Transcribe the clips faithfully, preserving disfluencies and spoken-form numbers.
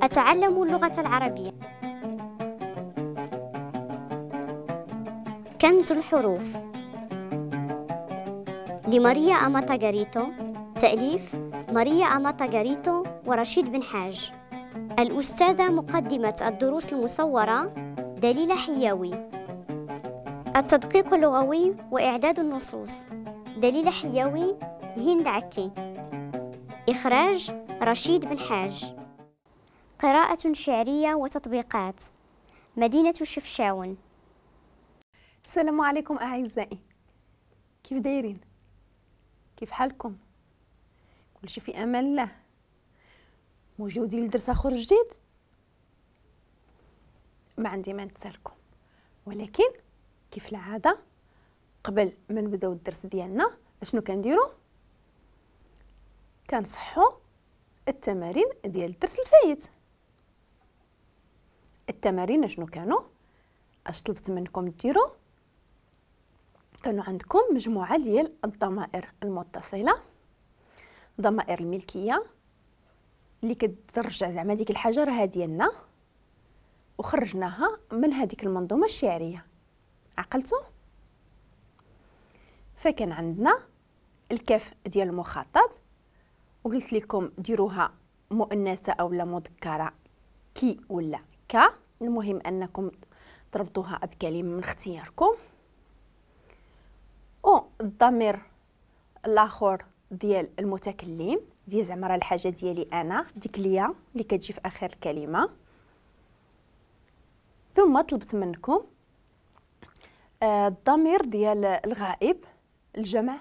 أتعلم اللغة العربية. كنز الحروف لماريا أماتاغاريتو، تأليف ماريا أماتاغاريتو ورشيد بن حاج. الأستاذة مقدمة الدروس المصورة دليلة حياوي. التدقيق اللغوي وإعداد النصوص دليلة حياوي، هند عكي. إخراج رشيد بن حاج. قراءة شعرية وتطبيقات مدينة شفشاون. السلام عليكم أعزائي، كيف دايرين؟ كيف حالكم؟ كلشي في أمان الله؟ موجودين لدرس آخر جديد؟ ما عندي ما نتسالكم، ولكن كيف العادة قبل ما نبداو الدرس ديالنا اشنو كنديرو؟ كنصحو التمارين ديال الدرس الفايت. التمارين اشنو كانوا؟ اش طلبت منكم ديروا؟ كانوا عندكم مجموعة ديال الضمائر المتصلة، ضمائر الملكية اللي كترجع زعما ديك الحاجة راها ديالنا وخرجناها من هذيك المنظومة الشعرية. عقلتوا؟ فكان عندنا الكاف ديال المخاطب، وقلت لكم ديروها مؤنثة او لا مذكره، كي ولا كا، المهم انكم تربطوها بكلمه من اختياركم. و الضمير الاخر ديال المتكلم ديال زعما راه الحاجة ديالي انا، ديك ليا اللي كتجي في اخر الكلمة. ثم طلبت منكم آه، الضمير ديال الغائب، الجمع،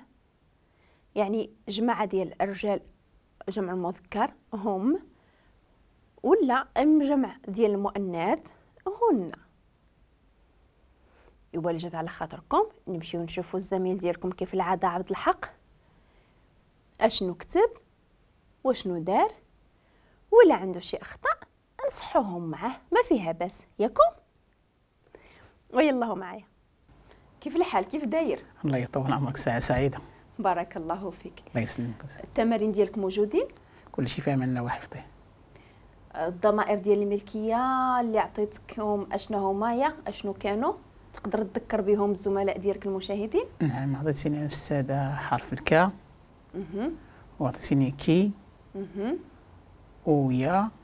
يعني جماعة ديال الرجال جمع المذكر هم، ولا الجمع ديال المؤنث هن. إوا جات على خاطركم نمشيو نشوفوا الزميل ديالكم كيف العادة عبد الحق اشنو كتب وشنو دار، ولا عنده شي اخطاء نصحوهم معاه، ما فيها بس ياكم. ويلا معايا. كيف الحال؟ كيف داير؟ الله يطول عمرك، ساعة سعيدة. بارك الله فيك. الله يسلمك. التمارين ديالك موجودين؟ كل شيء في امان الله وحفظه. الضمائر ديال الملكية اللي عطيتكم اشنو هما يا اشنو كانوا؟ تقدر تذكر بهم الزملاء ديالك المشاهدين؟ نعم، عطيتيني أستاذة حرف الكا، وعطيتيني كي، ويا،